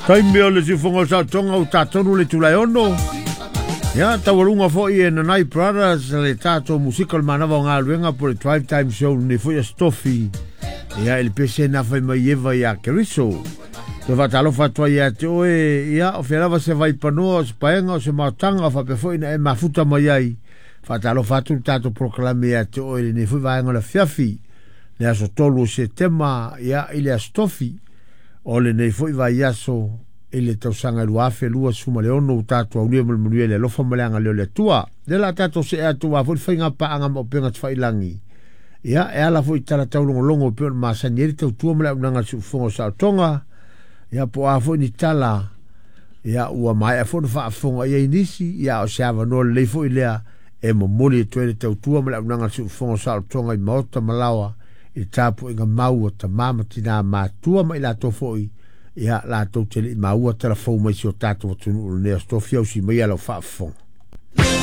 Taimi o le siufoga o saotoga ua tatonu le itula e 6. Ia, taualuga foi e Nanai Brothers le tatou musika o le manava o galuega po o le Drive Time Show lenei foi aso Tofi. Ia, i le pese na fai mai Eva ia Keriso. Toe faatalofa atu ai ia te oe, ia, o fea lava se vaipanoa, o se paega, o se maotaga, faapea foi na e mafuta mai ai. Faatalofa atu le tatou polokalame ia te oe i lenei foi vaega o le afiafi. Le aso 3 o Setema, ia, i le aso Tofi o lenei foi vaiaso i le tausaga 2026 ua tatou aulia ma le manuia i le alofa ma le agalelei o le Atua. Lea la tatou see atu aua foi le faiga paaga ma upega tafailagi. Ia, e ala foi i tala taulogologo e pei ona masani ai le tautua ma le auaunaga a le siufofoga o saotoga. Ia, po o a foi ni tala, ia, ua maea foi ona faafofoga i ai nisi, ia, o se avanoa lelei foi lea e momoli atu ai le tautua ma le auaunaga a le siufofoga o saolotoga i maota ma laoa i le tapuaiga mau a tama ma tina matua ma i latou foi ia latou te le i maua tala fou mai si o tatou atunuu i lenei aso. Tofia usi mai lau faafofoga.